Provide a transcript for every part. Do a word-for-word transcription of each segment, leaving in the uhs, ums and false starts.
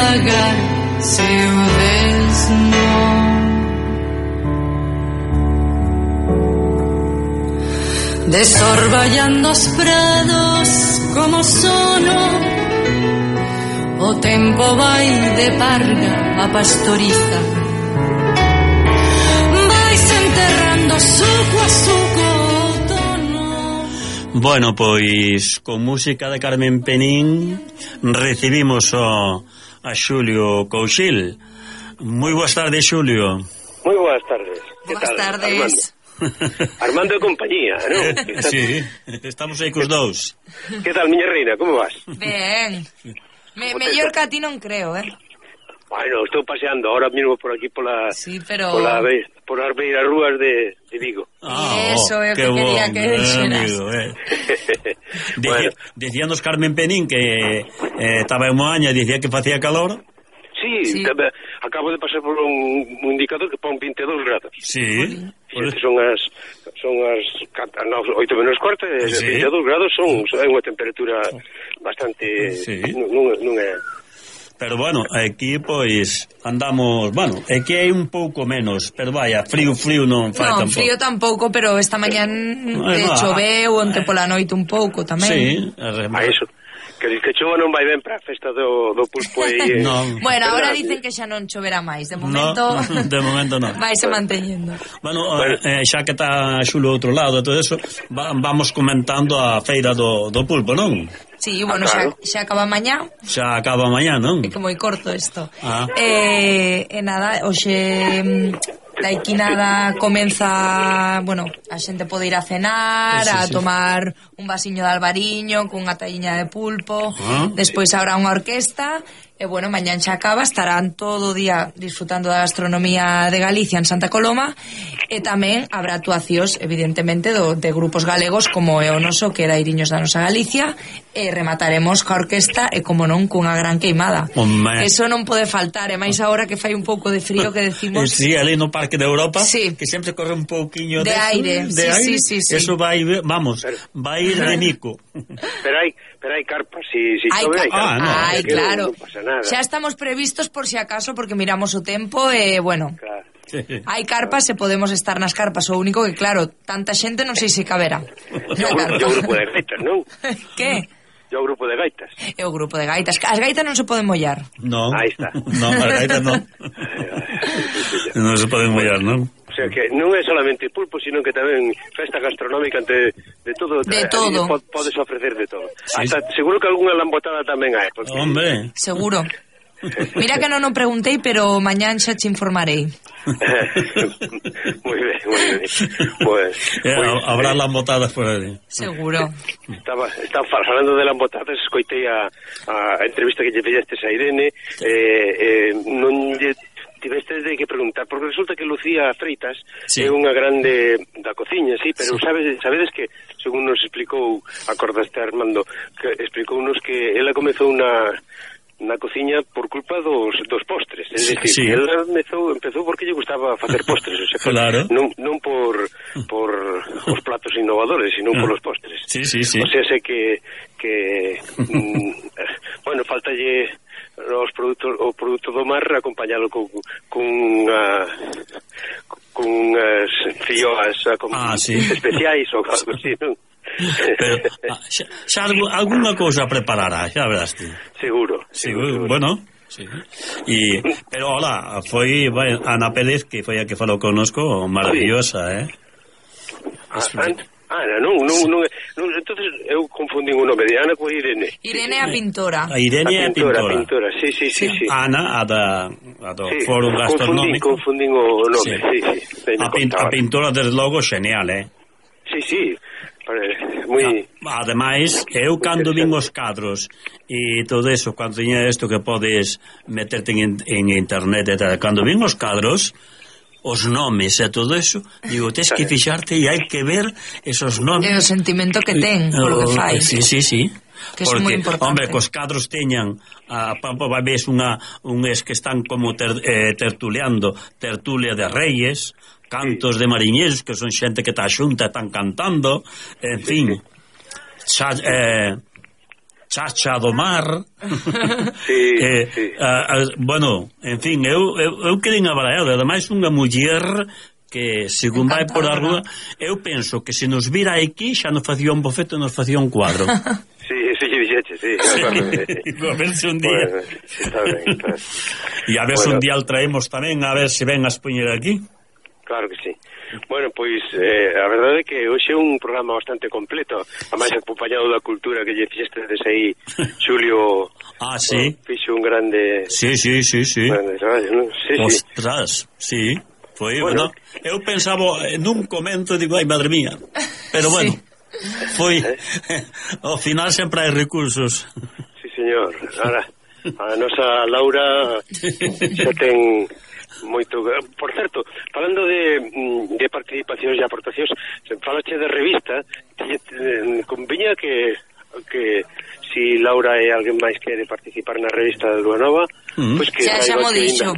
pagar seu desno. Desorballando os prados como sono, o tempo vai de parga a pastoriza, vais enterrando suco a suco outono. Bueno, pois con música de Carmen Penín recibimos o, a Xulio Couchil. Moi boas tardes, Xulio. Moi boas tardes. Boas tardes. Armando de compañía, non? Sí, estamos aí cos dous. Que tal, miña reina, como vas? Ben, Me, mellor que a ti non creo, eh? Bueno, estou paseando ahora mismo por aquí pola, sí, pero... pola por as beiras rúas de, de Vigo. Ah, eso é o que quería bon, que dixeras. Eh. Bueno. Decíanos Carmen Penín que estaba eh, en Moaña e dicía que facía calor. Sí, sí. Acabo de pasar por un, un indicador que pon vinte e dous grados. Sí. Porque son as son as oito menos cuarto e sí. vinte e dous grados son é unha temperatura bastante sí. non, non é. Pero bueno, aquí pois andamos, bueno, é que hai un pouco menos, pero vaya, frío, frío non fai no, tampouco. Frío tampouco, pero esta mañán de choveu, onte pola noite un pouco tamén. Sí, a eso. Que diz que chova non vai ben para a festa do, do pulpo aí. No. Bueno, agora dicen que xa non choverá máis. De momento, no, de momento non. Vai se manteñendo. Bueno, bueno. Eh, xa que está Xulo outro lado e todo eso, va, vamos comentando a feira do, do pulpo, non? Sí, bueno, ah, claro. xa, xa acaba mañá. Xa acaba mañá, non? É que moi corto isto. Ah. Eh, e nada, hoxe da Equinada comeza, bueno, a xente pode ir a cenar, sí, sí, a tomar sí. un vasiño de albariño cunha talliña de pulpo, ah. despois habrá unha orquesta. E, bueno, mañán xa acaba, estarán todo o día disfrutando da gastronomía de Galicia en Santa Coloma, e tamén habrá actuacións, evidentemente, do, de grupos galegos como é o noso, que era Iriños da Nosa Galicia, e remataremos ca orquesta e, como non, cunha gran queimada. Hombre. Eso non pode faltar, e máis agora que fai un pouco de frío, que decimos... Sí, ali no Parque de Europa, sí. que sempre corre un pouquiño de, de aire. De sí, aire. Sí, sí, sí. Eso vai, vamos, vai ir de mico. Pero hai, pero hai carpas, si, si hai, chove, hai carpas. Ah, no. Ai, claro. Non pasa nada. Xa estamos previstos por si acaso, porque miramos o tempo e, eh, bueno... Claro. Sí. Hai carpas e podemos estar nas carpas. O único que, claro, tanta xente non sei se caberá. O grupo de gaitas, non? Que? E o grupo de gaitas. É o grupo de gaitas. As gaitas non se poden mollar. Non. Aí está. Non, as gaitas non. Non se poden mollar, non? O sea que non é solamente pulpo, sino que tamén festa gastronómica ante de todo. De todo. Podes ofrecer de todo. Sí. Hasta seguro que algunha lambotada tamén hai. Porque... Hombre. Seguro. Mira que non o preguntei, pero mañán xa te informarei. Moi ben, moi ben. Pues, eh, pues, habrá eh, lambotadas por aí. Seguro. Estaba, estaba falando de lambotadas, escoitei a, a entrevista que lle fixestes a Irene, eh, eh, non lle tivestes de que preguntar, porque resulta que Lucía Freitas sí. é unha grande da cociña, sí, pero sí. Sabes, sabedes que, según nos explicou, acordaste Armando, que explicounos que ela comezou unha na cociña por culpa dos, dos postres, é dicir, sí. ela empezou, empezou porque lle gustaba facer postres, o sea, claro. non, non por por os platos innovadores, sino por os postres. Sí, sí, sí. O sea, sé que que mm, bueno, faltalle os produtos, o produto do mar acompañalo con con unha con unhas filloas con ah, sí. especiais ou algo así, non? Pero xa, xa alguna cousa preparará, xa verás ti. Seguro, seguro, seguro. Bueno, sí. Y, pero hola, foi bueno, Ana Pérez, que foi a que falou connosco, maravillosa, eh? Ah, Ana, non, non, non, non, entonces eu confundín o nome de Ana coa Irene. Irene a pintora. A Irene é a pintora. A pintora, sí, sí, sí, sí. Ana, a da a do sí, Fórum Gastronómico. Confundín, confundín o nome, sí, sí. sí a, pin, a pintora, desde logo, genial, eh? Sí, sí. Muy... Ademais, eu cando vin os cadros e todo eso, cando tiña isto que podes meterte en, en internet e tal, cando vin os cadros, os nomes e todo eso, digo, tens que fixarte e hai que ver esos nomes. E o sentimento que ten polo que fai. Sí, sí, sí. Que porque, é moi importante. Hombre, cos cadros teñan a pampa, vai ves unha unhas que están como ter, eh, tertuleando, tertulia de reis, cantos de mariñeiros, que son xente que está xunta e están cantando, en fin. Xa, eh, chacha do mar. Sí, eh, sí. A, a, bueno, en fin, eu, eu, eu quedei abarallado, ademais unha muller que, según vai por a rúa, eu penso que se nos vira aquí xa nos facía un bofeto, nos facía un cuadro. Sí, eso lle dixeche, sí. A ver se un día. Bueno, sí, está ben, está. E a ver se Bueno. un día o traemos tamén, a ver se ven a expoñer aquí. Claro que sí. Bueno, pois, eh, a verdade é que hoxe é un programa bastante completo, a máis acompañado da cultura que lle fixeste desde aí, Xulio. Ah, sí. Oh, fixo un grande... Sí, sí, sí, sí. Grande traballo, non? Sí, sí. Ostras, sí. Foi, Bueno. bueno, eu pensaba nun comento, digo, ai, madre mía. Pero bueno, sí. Foi, ao final sempre hai recursos. Sí, señor. Ahora, a nosa Laura xa ten moito... Por certo, falando de, de participacións e aportacións, se falache de revista, te, te, conviña que que si Laura e alguén máis quere participar na revista de Lua Nova, Mm. pois pues que Xa xa mo dixo.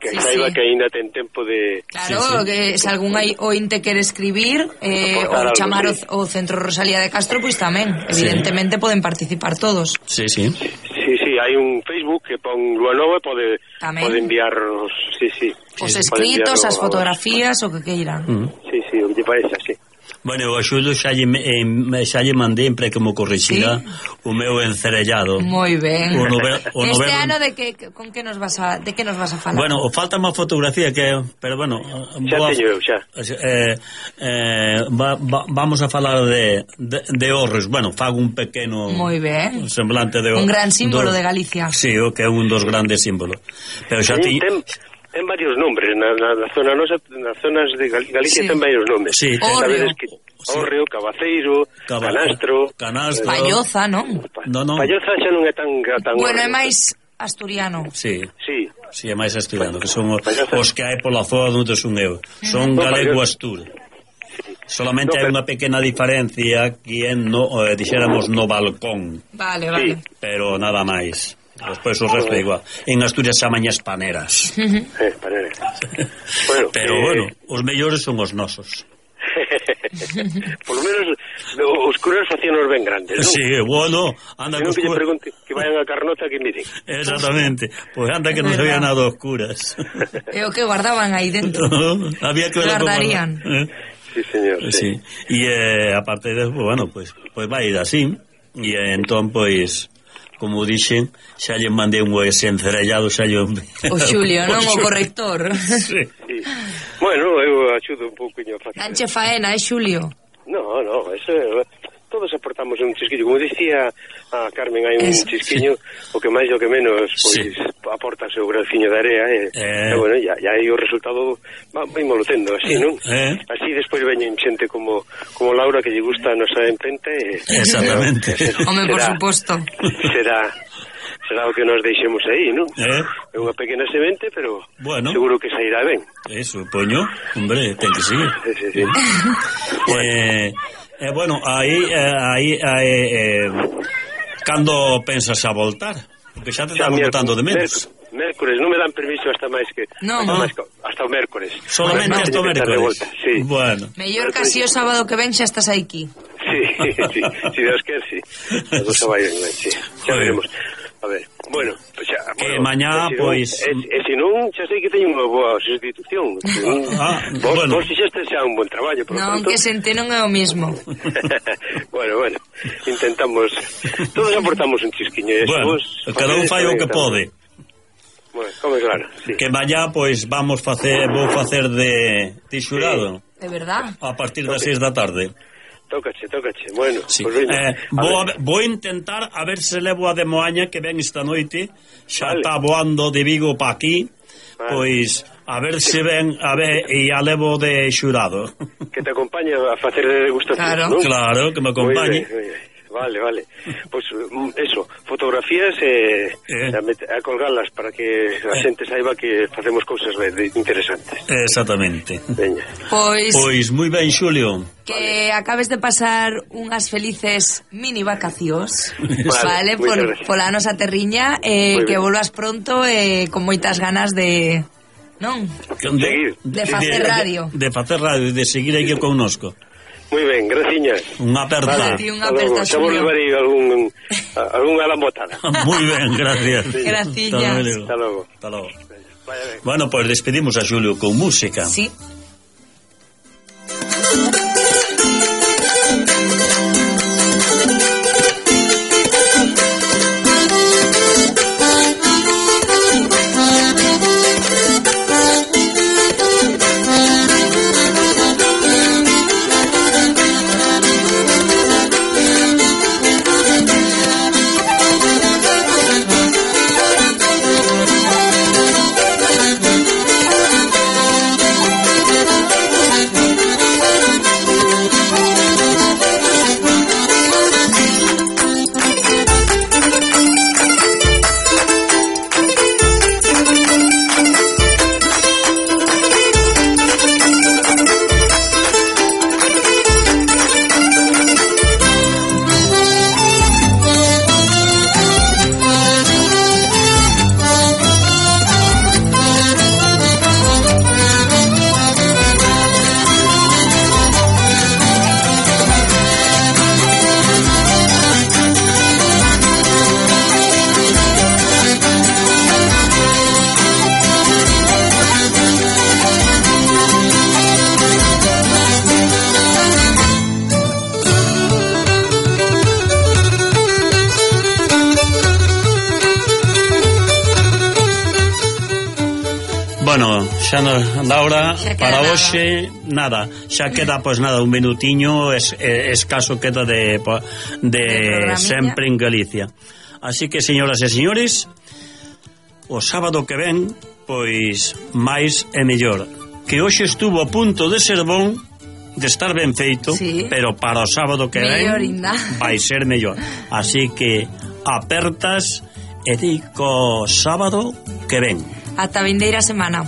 que Sí, saiba sí. que aínda ten tempo de... Claro, Sí, sí. que se algún hai ointe quere escribir eh, Aportar ou algo, chamar sí. o, o Centro Rosalía de Castro, pois tamén, evidentemente poden participar todos. Sí, sí. Sí, sí, hai un Facebook que pon Lua Nova e pode, Tamén. pode enviar os... Sí, sí. Os Pode escritos, enviar as o- fotografías, o que queiran. Mm. Sí, sí, o que lle parece así. Bueno, o Xulio xa lle, eh, xa lle mandeiempre que mo corrixira o meu encerellado. Moi ben. O nove- o este noveno- ano de que con que nos vas a de que nos vas a falar? Bueno, o falta má fotografía que, pero bueno, Xa boa- teño eu, xa. eh, eh, va, va, vamos a falar de, de, de Orres. Bueno, fago un pequeno Moi ben. semblante de Un gran símbolo do, de Galicia. Sí, o que é un dos grandes símbolos. Pero xa Ten, ti ten, ten varios nombres na, na, na zona nosa, nas zonas de Gal- Galicia Sí. ten varios nombres. Sí, ten- Sabedes Órreo. que Sí. Órreo, Cabaceiro, Caba- Canastro. Canastro. Palloza, non? Pa- No, no. Palloza xa non é tan tan Bueno, é Órreo. máis asturiano. Sí, Sí. sí, é máis estudiando, que son os, Palloza. os que hai pola zona onde son eu. Son No, galego Palloza. astur. Solamente No, hai pero- unha pequena diferencia que é no, eh, dixéramos no balcón, Vale, vale. pero nada máis. Despois o resto é igual. En Asturias chaman espaneras. Eh, panere. Bueno, Pero eh, bueno, os mellores son os nosos. Por lo menos os curas facíanos ben grandes, non? Sí, bueno, anda Se non cos que lle curas. pregunte que vayan a Carnota que miren. Exactamente. Pois anda que non Verdad. sabía nada os curas. É o que guardaban aí dentro. Había que ver Guardarían. Eh, Sí, señor. Sí. E eh, aparte de, bueno, pois pues, pues vai ir así. E eh, entón, pois, como dixen, xa lle mandei un ese encerellado, xa lle... O Xulio, non? O corrector. Sí. Sí. Bueno, eu axudo un pouquinho a facer. Danche faena, eh, Xulio? No, no, eso é... Todos aportamos un chisquillo. Como dicía a Carmen, hai un Eso, chisquiño, o que máis e o que menos, pois, Sí. aporta o seu graciño de area, e, Eh. e bueno, ya, ya aí o resultado va, vai lo tendo, así, non? Eh. Así despois veñen xente como como Laura, que lle gusta a nosa empenta, e... Exactamente. Home, por será- suposto. Será... Será o que nos deixemos aí, non? Eh. É unha pequena semente, pero Bueno. seguro que sairá ben. Eso, poño, hombre, ten que seguir. Sí, sí, sí. Eh, eh, bueno, aí, eh, aí, aí eh, cando pensas a voltar? Porque xa te Xa, estamos miérc- botando de menos. miérc- Mércores, non me dan permiso hasta máis que Non. hasta, Ah. máis, que- hasta o mércores. Solamente Bueno, hasta o Teño que estar de mércoles. volta, sí. Bueno. Mellor casi o sábado que ven xa estás aquí. Sí, sí, si Dios quer, sí. As dos vai ben, sí. Xa Joder. veremos. A ver, bueno, pues xa, Que bueno, mañá, e si non- pois- E, e se non, xa sei que teño unha boa sustitución. Ah, vos, bueno. vos fixeste xa un bon traballo, por lo Non, tanto. que sente non é o mismo. bueno, bueno, intentamos. Todos aportamos un chisquiño. E se Bueno, vos cada un facedes fai o tamén, que tamén. pode. Bueno, como claro, sí. Que mañá, pois, vamos facer, vou facer de, de xurado De verdad? a partir das seis da tarde. Tócache, tócache. Bueno, Sí. pues veña. Eh, A vou, ver. a, vou intentar a ver se levo a de Moaña que ven esta noite. Xa Vale. está voando de Vigo pa aquí. Vale. Pois a ver se ven, a ver, e a levo de xurado. Que te acompañe a facer de degustación, Claro. ¿no? Claro, que me Muy acompañe. bien, muy bien. Vale, vale. Pues mm, eso, fotografías eh, Eh. a, met- a colgarlas para que a xente saiba que facemos cousas de, de interesantes. Exactamente. Veña. Pois Pois moi ben, Xulio. que acabes de pasar unhas felices mini vacacións, Vale, vale, moitas por, gracias. pola nosa terriña, eh, Moi que ben. volvas pronto eh, con moitas ganas de, non? Seguir. De facer radio. De, de facer radio e de seguir aquí connosco. Moi ben, graciñas. Unha aperta. Vale, unha aperta, xa vos levarei algún, algún alambotada. Moi ben, gracias. Graciñas. Hasta logo. Hasta logo. Bueno, pois pues despedimos a Xulio con música. Sí. Bueno, xa nos da hora para hoxe, nada, xa queda pois nada, un minutiño es, es, escaso queda de de, de sempre en Galicia. Así que, señoras e señores, o sábado que ven, pois máis e mellor. Que hoxe estuvo a punto de ser bon, de estar ben feito, sí, pero para o sábado que ven vai ser mellor. Así que apertas e dico sábado que ven. Ata vindeira semana.